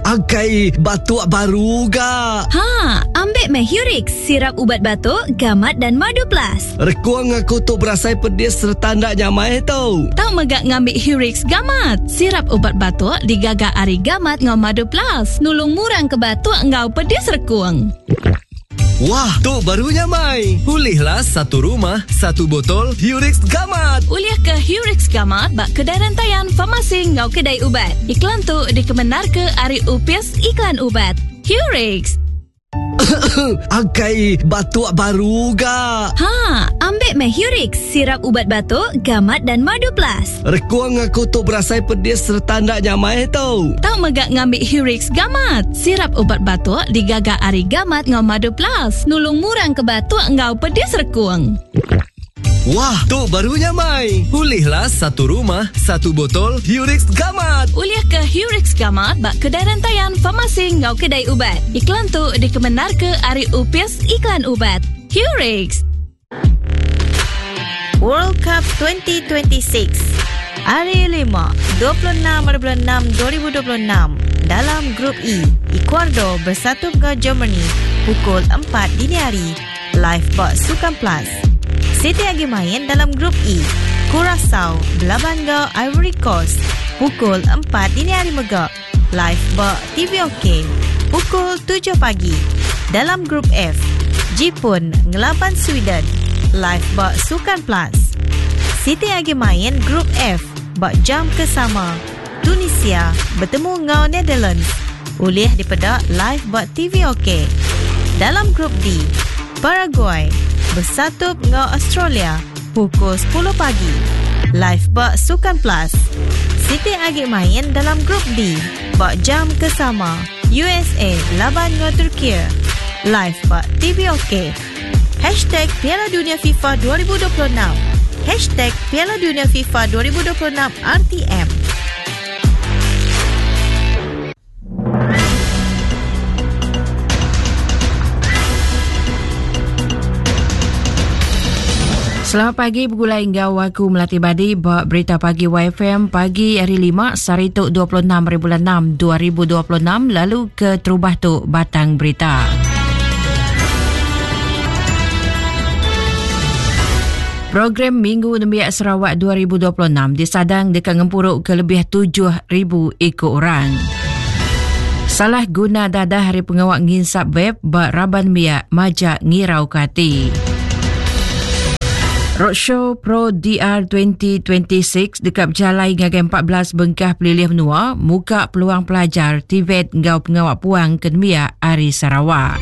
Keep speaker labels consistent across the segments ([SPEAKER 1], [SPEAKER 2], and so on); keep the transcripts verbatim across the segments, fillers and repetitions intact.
[SPEAKER 1] Angkai batuk baru ga.
[SPEAKER 2] Ha, ambil meh Hurix, sirap ubat batuk, gamat dan madu plus.
[SPEAKER 1] Rekuang aku tu berasai pedis serta ndak nyamai tu.
[SPEAKER 3] Tau megak ngambil Hurix gamat. Sirap ubat batuk digaga ari gamat ngau madu plus. Nulung murang ke batuk ngau pedis rekuang.
[SPEAKER 1] Wah, tu baru nyamai. Ulihlah satu rumah, satu botol Hurix Gamat.
[SPEAKER 3] Ulih ke Hurix Gamat bak kedai rantaian farmasi ngau kedai ubat. Iklan tu dikemenar ke ari Upis Iklan Ubat. Hurix.
[SPEAKER 1] Angkai batuk baru ga.
[SPEAKER 2] Ha, ambil meh Hurix, sirap ubat batuk, gamat dan madu plus.
[SPEAKER 1] Rekuang aku tu berasai pedis serta ndak nyamai tu.
[SPEAKER 3] Tau megak ngambil Hurix Gamat. Sirap ubat batuk digaga ari gamat ngau madu plus. Nulung murang ke batuk ngau pedis rekuang.
[SPEAKER 1] Wah, tu baru nyamai. Ulihlah satu rumah, satu botol Hurix Gamat.
[SPEAKER 3] Ulih ke Hurix Gamat bak kedai rantaian farmasi ngau kedai ubat. Iklan tu dikemenar ke ari Upis Iklan Ubat. Hurix.
[SPEAKER 4] World Cup twenty twenty-six. Hari lima, dua puluh enam bulan enam dua ribu dua puluh enam. Dalam Grup E, Ecuador bersatu dengan Germany pukul empat dini hari. Live bak Sukan Plus. City lagi main dalam Grup E, Curacao berlawan dengan Ivory Coast pukul empat dini hari megak. Live bak T V OK pukul tujuh pagi. Dalam Grup F, Jepun ngelaban Sweden. Live bak Sukan Plus. City lagi main Grup F bak jam kesama. Tunisia bertemu dengan Netherlands. Ulih dipedak live bak T V OK. Dalam Grup D, Paraguay bersatu dengan Australia pukul sepuluh pagi. Live bak Sukan Plus. City agi main dalam Grup D bak jam kesama. U S A laban dengan Turki. Live bak T V OK. Hashtag Piala Dunia FIFA dua ribu dua puluh enam. Hashtag Piala Dunia FIFA dua ribu dua puluh enam R T M.
[SPEAKER 5] Selamat pagi bergulai ngau aku Melati Badi buat berita pagi Y F M pagi hari lima sehari tu dua puluh enam bulan enam dua ribu dua puluh enam lalu ke terubah tu batang berita. Program Minggu Nembiak Sarawak dua ribu dua puluh enam disadang dekat ngempuruk ke lebih tujuh ribu ekor orang. Salah guna dadah hari pengawak nginsap web bak raban miak majak ngirau ke hati. Roadshow Pro D R twenty twenty-six dekat berjalai ngagai empat belas bengkah pelilih menua muka peluang pelajar T V E T ngau pengawak puang ke Nembiak Ari Sarawak.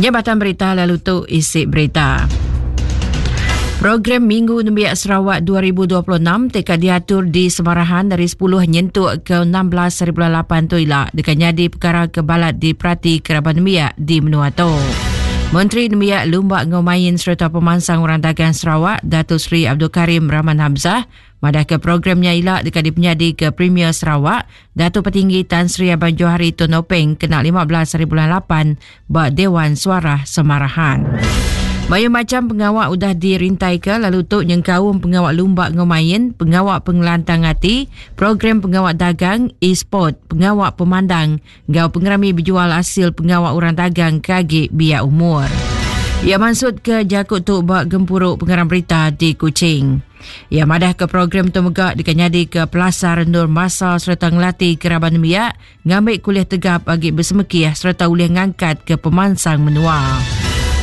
[SPEAKER 5] Jabatan berita lalu tu isi berita. Program Minggu Nembiak Sarawak dua ribu dua puluh enam T K diatur di Semarahan dari sepuluh nyentuk ke enam belas hari bulan lapan tu ila dekat nyadi perkara kebalat di Prati Keraban Nembiak di Menua tu. Menteri Nembiak Lumba Ngomain serta Pemansang Orang Dagang Sarawak Datuk Seri Abdul Karim Rahman Hamzah madah ke programnya ila dekat dipenyadi ke Premier Sarawak Datuk Petinggi Tan Sri Abang Johari Tun Openg kena lima belas hari bulan lapan bak Dewan Suara Semarahan. Banyak macam pengawak udah dirintai ke lalu tok nyengkaum pengawak lumba ngomain, pengawak pengelantang hati, program pengawak dagang, e-sport, pengawak pemandang, ngau pengerami berjual hasil pengawak orang dagang kagi biak umur. Ia maksud ke jakut tok bak gempuruk pengarang berita di Kuching. Ia madah ke program tu megak dikanyadi ke Pelasar Nur Masa serta ngelatih keraban miak ngambil kuliah tegap bagi bersemekiah serta ulih ngangkat ke pemansang menua.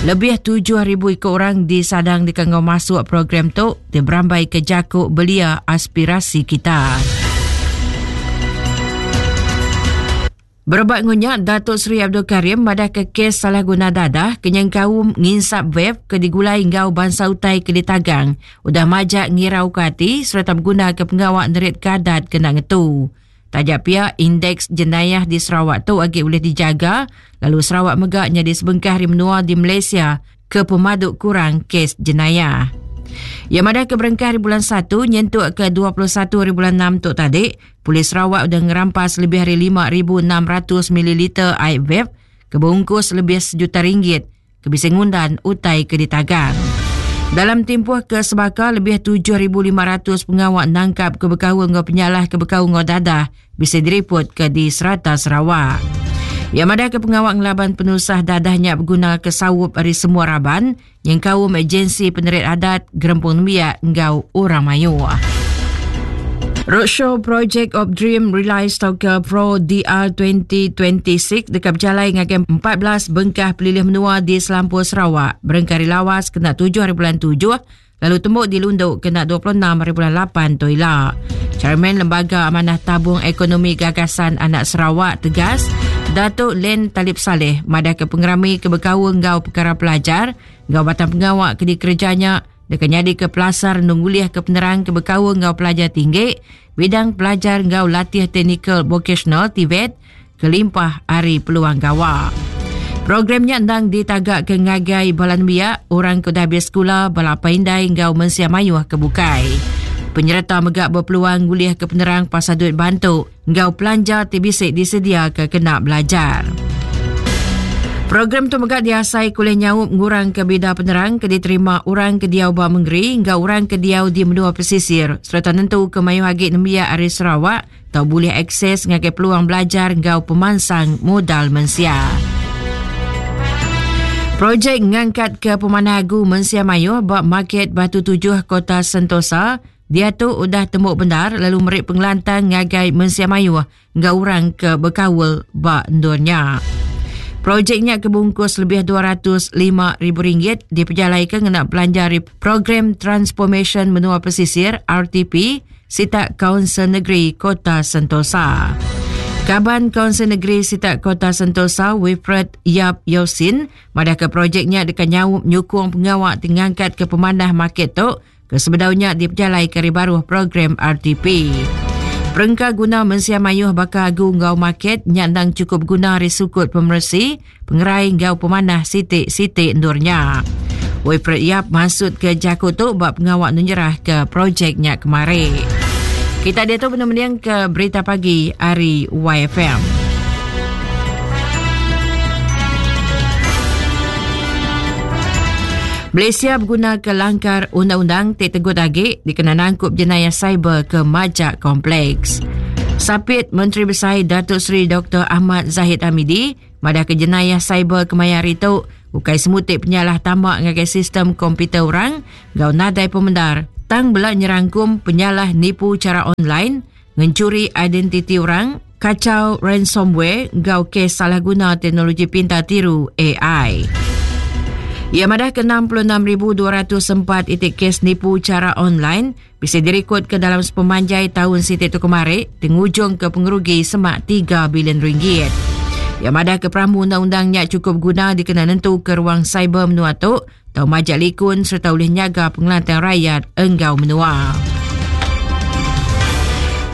[SPEAKER 5] Lebih tujuh ribu ikut orang disadang dikangau masuk program tu dia berambai ke jakuk belia aspirasi kita. Berebak ngunyak Datuk Seri Abdul Karim madah ke kes salah guna dadah kenyang kaum nginsap vape ke digulai ngau bangsa utai ke ditagang udah majak ngirau ke hati serta berguna ke pengawak nerit kadat kena ngetu. Tajak pihak indeks jenayah di Sarawak tu agi boleh dijaga lalu Sarawak megaknya di sebengkah hari menua di Malaysia ke pemaduk kurang kes jenayah. Yang madah ke berengkah hari bulan satu nyentuk ke dua puluh satu hari bulan enam tu tadi, Polis Sarawak sudah ngerampas lebih dari lima ribu enam ratus mililiter air vape kebungkus lebih sejuta ringgit ke bisa ngundan utai ke ditagang. Dalam tempoh ke sebaka lebih tujuh ribu lima ratus pengawak nangkap ke bekau ngau penyalah ke bekau ngau dadah bisa diriput ke di serata Sarawak. Yang ada ke pengawak ngelaban penusah dadahnya berguna ke sawup dari semua raban yang kaum agensi penerit adat gerempung nembiak ngau orang mayu. Roadshow Project of Dream Realize Tauka Pro D R dua ribu dua puluh enam dekat berjalai ngagai empat belas bengkah pelilih menua di Selampur Sarawak. Berengkari lawas kena tujuh hari bulan tujuh, lalu tembuk di Lunduk kena dua puluh enam hari bulan lapan toila. Chairman Lembaga Amanah Tabung Ekonomi Gagasan Anak Sarawak tegas, Datuk Len Talib Saleh madah ke pengerami ke bekau ngau perkara pelajar, ngau batang pengawak ke dikerjanya dekat nyadi ke pelasar nungguliah ke penerang ke bekau ngau pelajar tinggi, bidang pelajar ngau latih teknikal vocational T V E T, kelimpah hari peluang gawa. Programnya endang ditagak ke ngagai balan biak, orang ke dah habis sekolah, bala paindai ngau mensia mayuh ke bukai. Penyerta megak berpeluang nguliah ke penerang pasal duit bantu ngau pelanja T B C disedia ke kena belajar. Program tu megak diasai kuliah nyaup ngurang ke bida penerang ke diterima orang ke diau ba mengeri ngau orang ke diau di menua pesisir serta nentu ke mayu agi nembiak ari Sarawak tau boleh akses ngagai peluang belajar ngau pemansang modal mensia. Projek ngangkat ke pemanah agu mensia mayu ba market Batu Tujuh Kota Sentosa dia tu udah tembuk benar lalu merik pengelantang ngagai mensia mayu ngau orang ke bekawal ba ndurnya. Projeknya kebungkus lebih dua ratus lima ribu ringgit diperjalaikan ngena belanja Program Transformation Menua Pesisir R T P Sitak Kaunsil Negeri Kota Sentosa. Kaban Kaunsil Negeri Sitak Kota Sentosa Wilfred Yap Yosin madah ke projeknya dekat nyaup nyukung pengawak tingangkat ke pemanah market tu ke sebedaunya diperjalai ke baruh program R T P. Perengka guna mensia mayuh bakal agu ngau market nyandang cukup guna risukut pemersi pengerai ngau pemanah sitik-sitik ndurnya. Wilfred Yap masuk ke Jaku tu bab pengawak nunjerah ke projeknya kemari. Kita dia tu benar-benar ke berita pagi hari Y F M. Malaysia berguna ke langkar undang-undang tak tegut agi dikena nangkup jenayah cyber ke majak kompleks. Sapit Menteri Besar Datuk Seri Doktor Ahmad Zahid Hamidi madah ke jenayah cyber kemayar itu bukai semutik penyalah tamak ngagai sistem komputer orang gau nadai pemendar tang bela nyerangkum penyalah nipu cara online, ngencuri identiti orang, kacau ransomware gau kes salah guna teknologi pintar tiru A I. Ia madah ke enam puluh enam ribu dua ratus empat itik kes nipu cara online bisa direkod ke dalam sepemanjai tahun sitik tu kemarin tengujung ke pengerugi semak tiga bilion ringgit. Ia madah ke peramu undang-undangnya cukup guna dikena nentu ke ruang cyber menua tu tau majak likun serta boleh nyaga pengelantang rakyat enggau menua.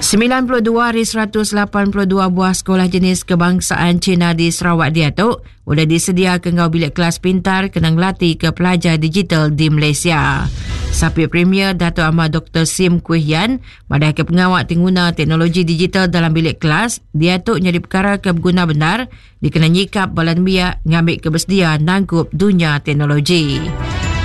[SPEAKER 5] sembilan puluh dua dari seratus lapan puluh dua buah sekolah jenis kebangsaan Cina di Sarawak dia tu sudah disediakan ngau bilik kelas pintar kena ngelatih ke pelajar digital di Malaysia. Sapit Premier Dato' Ahmad Doktor Sim Kui Hian madah ke pengawak pengguna teknologi digital dalam bilik kelas dia tu jadi perkara ke berguna benar dikena nyikap balan biak ngambil kebersedia nangkup dunia teknologi.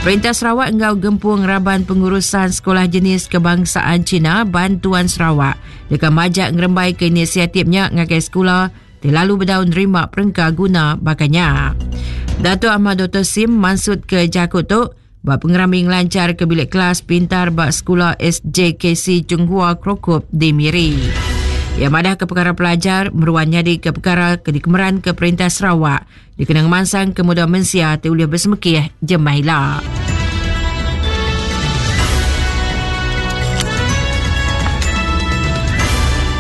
[SPEAKER 5] Perintah Sarawak enggau gempung raban pengurusan sekolah jenis kebangsaan Cina Bantuan Sarawak dekat majak ngerembai ke inisiatifnya ngagai sekolah terlalu berdaun nerima perengka guna bakanya. Dato' Ahmad Doktor Sim maksud ke Jakut tu buat pengerami ngelancar ke bilik kelas pintar bak sekolah S J K C Chunghua Krokup di Miri. Yang madah ke perkara pelajar meruan nyadi ke perkara ke dikemeran ke Perintah Sarawak dikenang mansang ke muda mensia te ulih bersemekih jemaila.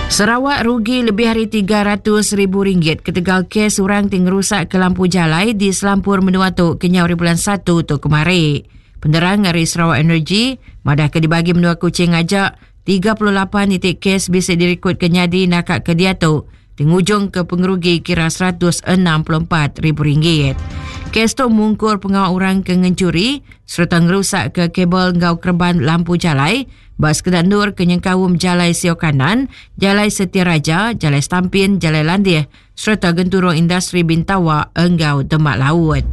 [SPEAKER 5] Sarawak rugi lebih hari tiga ratus ribu ringgit ketegal kes orang ting rusak ke lampu jalai di Selampur Menua tu kenyau hari bulan satu tu kemari. Penerang hari Sarawak Energy madah ke dibagi menua Kuching ajak tiga puluh lapan titik kes bisa direkod ke nyadi nakak ke dia tu tengujung ke pengerugi kira seratus enam puluh empat ribu ringgit. Kes tu mungkur pengawal orang ke ngencuri serta ngerusak ke kabel ngau kerban lampu jalai bas sekedar nur ke nyengkaum Jalai Sio Kanan, Jalai Setia Raja, Jalai Stampin, Jalai Landih serta genturung industri Bintawa enggau Demak Laut.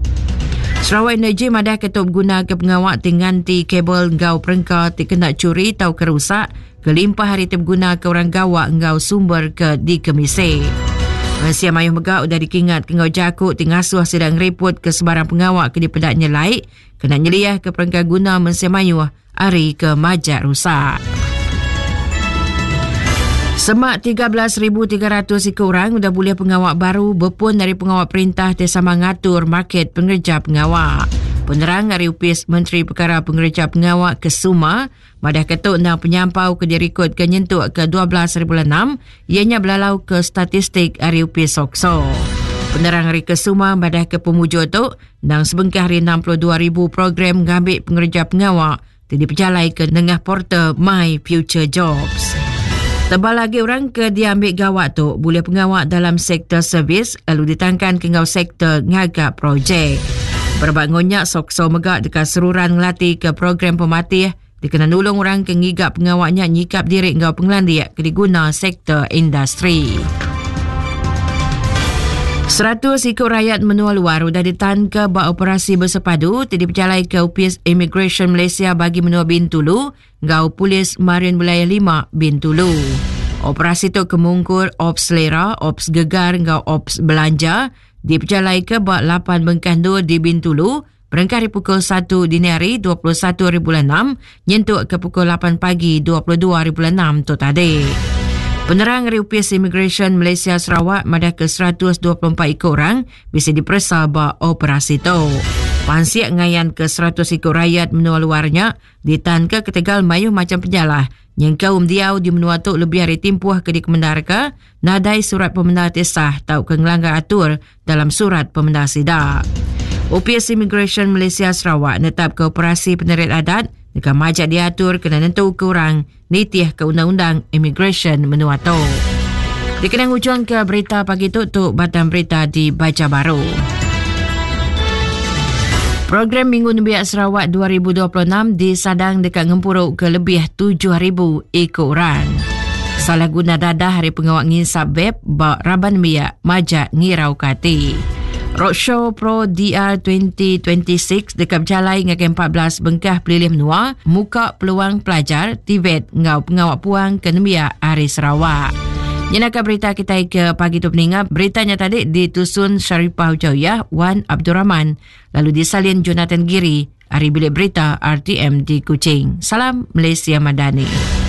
[SPEAKER 5] Sarawak Energy madah ketup guna ke pengawak tinganti kabel ngau perengka ti kena curi tau kerusak kelimpah hari ti guna ke orang gawak ngau sumber ke dikemise. Malaysia mayuh megak udah dikingat ke ngau jakuk ti ngasuh sedang ngeriput ke sebarang pengawak ke dipedak nyelai kena nyeliah ke perengka guna mensia mayuh hari ke majak rusak. Semak tiga belas ribu tiga ratus ikut orang udah boleh pengawak baru berpun dari pengawak perintah te sama ngatur market pengerja pengawak. Penerang dari Upis Menteri Perkara Pengerja Pengawak Kesuma, madah ketuk nang penyampau ke dirikod ke nyentuk ke dua belas ribu enam, ianya belalau ke statistik dari Upis Sokso. Penerang dari Kesuma madah ke pemujur tu, nang sebengkah hari enam puluh dua ribu program ngambil pengerja pengawak te diperjalai ke nengah portal My Future Jobs. Tebal lagi orang ke diambil gawak tu boleh pengawak dalam sektor servis lalu ditangkan ke ngau sektor ngagak projek. Berbak ngonyak Sokso megak dekat seruran ngelatih ke program pematih dikena nulung orang ke ngigap pengawaknya nyikap diri ngau pengelandiak ke diguna sektor industri. Seratus ikut rakyat menua luar sudah ditahan ke bak operasi bersepadu ti diperjalai ke Upis Immigration Malaysia bagi menua Bintulu ngau Polis Marin Wilayah lima Bintulu. Operasi tu kemungkur Ops Selera, Ops Gegar ngau Ops Belanja diperjalai ke bak lapan bengkah dua di Bintulu berengkah di pukul satu dini hari dua puluh satu ribu enam nyentuk ke pukul lapan pagi dua puluh dua ribu enam tu tadi. Penerang dari Upis Immigration Malaysia Sarawak madah ke seratus dua puluh empat ikut orang bisa diperiksa bak operasi tu. Pansiak ngayan ke seratus ikut rakyat menua luarnya ditahan ke ketegal mayuh macam penyalah. Yang kaum diau di menua tu lebih hari timpuh ke dikemendarka nadai surat pemendar tesah tau ke ngelanggar atur dalam surat pemendar sidak. Upis Immigration Malaysia Sarawak netap ke operasi penerit adat dekat majak diatur kena nentu kurang nitih ke undang-undang immigration menua tu. Dikenang ujung ke berita pagi tu tu batang berita dibaca baru. Program Minggu Nembiak Sarawak dua ribu dua puluh enam disadang dekat ngempuruk ke lebih tujuh ribu ekor orang. Salah guna dadah hari pengawak nginsap vape bak raban nembiak majak ngirau kati. Roadshow Pro D R dua ribu dua puluh enam dekat berjalai ngagai empat belas bengkah pelilih menua muka peluang pelajar Tibet ngau pengawak puang ke nembiak hari Sarawak. Nyenaka berita kita ke pagi tu peningat. Beritanya tadi ditusun Sharifah Ujayah Wan Abdul Rahman lalu disalin Jonathan Giri hari bilik berita R T M di Kuching. Salam Malaysia Madani.